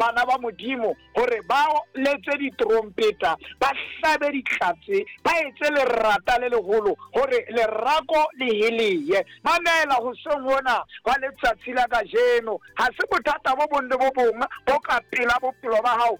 bana ba Modimo hore ba letse diterompeta, ba hlabe ditlatse, ba etse lerata le leholo hore lerako le heleye. Mamela hoseng hona hwa letsatsi la kajeno, ha se bothata bo bong le bo bong bo ka pela bophelo ba hao.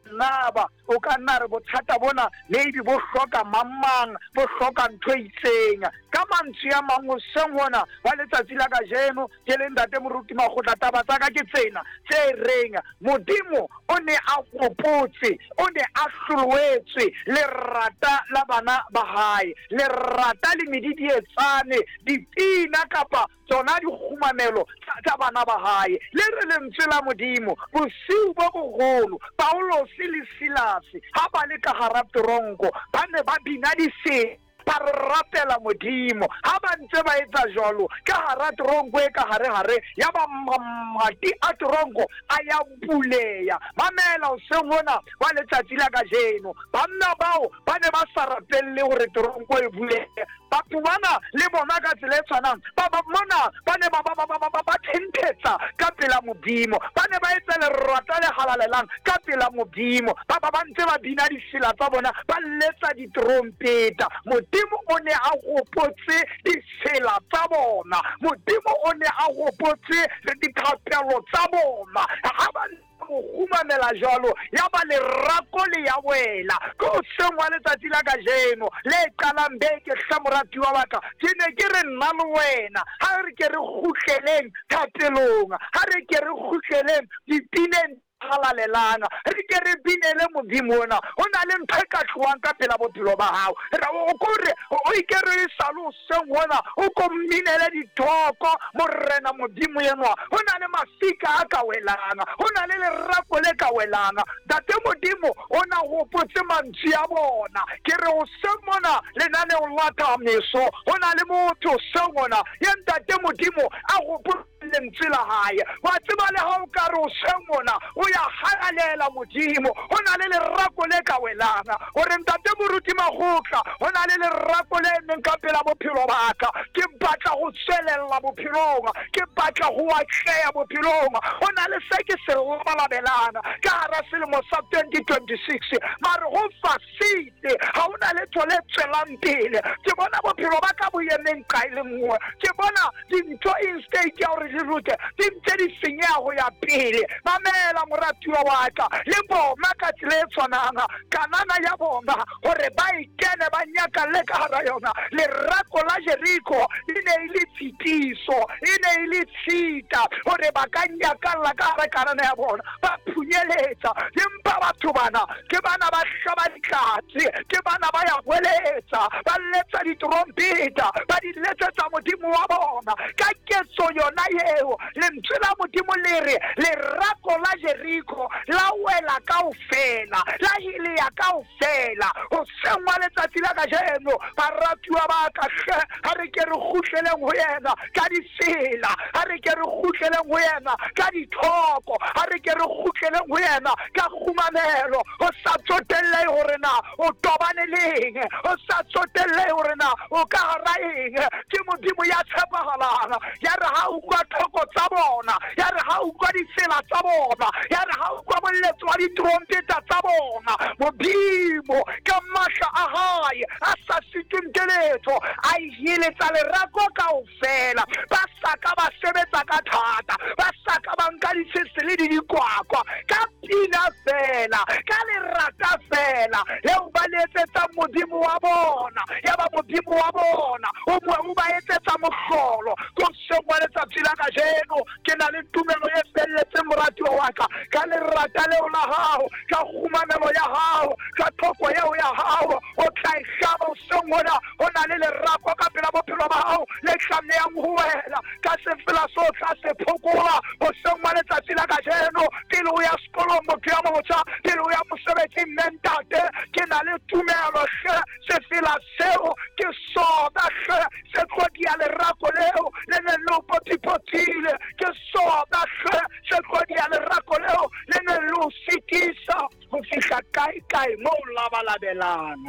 Naba o ka nna re bothata bona maybe bo hloka mang-mang, bo hloka ntho e itseng. Ka mantswe a mang, hoseng hona wa letsatsi la kajeno, ke le Ntate Moruti Makgotla, taba tsa ka ke tsena tse reng Modimo o ne a hopotse, o ne a hloloetswe lerata la bana ba hae, lerata le medidietsane, dipina kapa tsona dikgumamelo tsa bana ba hae. Le re lentswe la Modimo, bosiu bo boholo, Paulose le Silase ha ba le ka hara teronko, ba ne ba bina difela, ba re rapela Modimo. Ha ba ntse ba etsa jwalo, ka hara teronko e ka hare-hare, ya ba mamati a teronko a ya buleya. Mamela hoseng hona wa letsatsi la kajeno, banna bao ba ne ba sa rapelle hore teronko e bulehe. Batho bana le bona ka tsela e tshwanang, ba ba mona ba ne ba ba ba ba ba ba thenthetsa ka pela Modimo, ba ne ba etsa lerata le halalelang ka pela Modimo, ba ba ba ntse ba bina difela tsa bona, ba letsa diterompeta. Modimo o ne a hopotse difela tsa bona, Modimo o ne a hopotse dithapelo tsa bona. Ha ba mo kgumamela jwalo, ya ba lerako le ya wela. Ke hoseng wa letsatsi la kajeno le qalang beke, hle moratuwa wa ka, ke ne ke re nna le wena ha re ke re kgutleleng thapelong, ha re ke re kgutleleng dipineng halalelang, re ke re binele Modimo ona. Ho na le ntho e ka tlohang ka pela bophelo ba hao, o kore o ikere e sa le hoseng hona, o ko mminele dithoko Morena Modimo enwa. Ho na le mafika a ka welang, ho na le lerako le ka welang. Ntate Modimo o na hopotse mantswe a bona. Ke re hoseng mona lenaneong la Thameso, ho na le motho hoseng hona ye Ntate Modimo a hopotse lentswe la hae. Wa tseba le ha o ka re hoseng mona o ya halalela Modimo, ho na le lerako le ka welang. Hore Ntate Moruti Makgotla, ho na le lerako le emeng ka pela bophelo ba ka. Ke batla ho tswelella bophelong, ke batla ho atleha bophelong. Ho na le se ke se labalabelang ka hara selemo sa 2026, mare ho fasitse, ha ho na letho le tswelang pele. Ke bona bophelo ba ka bo emeng nqa e le nngwe, ke bona dintho instead ya hore di loke di ntse di senyeha ho ya pele. Mamela moratuwa wa ka, le bona ka tsela e tshwanang Kanana ya bona hore ba e kene ba nyakalle ka hara yona. Lerako la Jeriko e ne e le tshitiso, e ne e le tshita hore ba ka nyakalla ka hara Kanana ya bona, ba phunyeletsa. Empa batho bana ke bana ba hlaba ditlatse, ke bana ba ya hweletsa, ba letsa diterompeta, ba di letsetsa Modimo wa bona. Ka ketso yona eo, lentswe la Modimo le re lerako la Jeriko la wela kaofela, la helea kaofela. Hoseng wa letsatsi la kajeno, baratuwa ba ka, hle ha re ke re kgutleleng ho yena ka ditsela, ha re ke re kgutleleng ho yena ka dithoko, ha re ke re kgutleleng ho yena ka kgumamelo. Ho sa tsotellehe hore na o tobane le eng, ho sa tsotellehe hore na o ka hara eng, ke Modimo ya tshepahalang. Ya re ha utlwa thoko tsa bona, ya re ha utlwa ditsela tsa bona, ya re ha utlwa moletso wa diterompeta tsa bona, Modimo ka matla a hae a sa sitweng ke letho a heletsa lerako kaofela. Ba sa ka ba sebetsa ka thata, ba sa ka ba nka ditshese le didikwakwa, ka pina fela, ka lerata fela leo ba le etsetsang Modimo wa bona. Ya ba Modimo wa bona o bua, o ba etsetsa mohlolo. Ke hoseng wa letsatsi la kajeno, ke na le tumelo e felletseng, moratuwa wa ka, ka lerata leo la hao, ka kgumamelo ya hao, ka thoko eo ya hao, o tla e hlaba hoseng hona. Ho na le lerako ka pela bophelo ba hao le tlamehang ho wela ka sefela so tla se phokola hoseng wa letsatsi la kajeno. Pele o ya sekolong, motho ya motjha, pele o ya mosebetsing, mme ntate, ke na le tumelo hle, sefela seo ke sona hle se tlo dia lerako leo le neng le o potipotile, ke sona hle se tlo dia lerako leo le neng le o sitisa ho fihla kae-kae mo o labalabelang.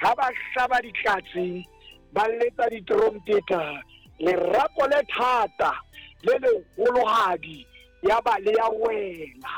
Ha ba hlaba ditlatse, ba letsa diterompeta, lerako le thata le leholohadi ya ba le ya wela.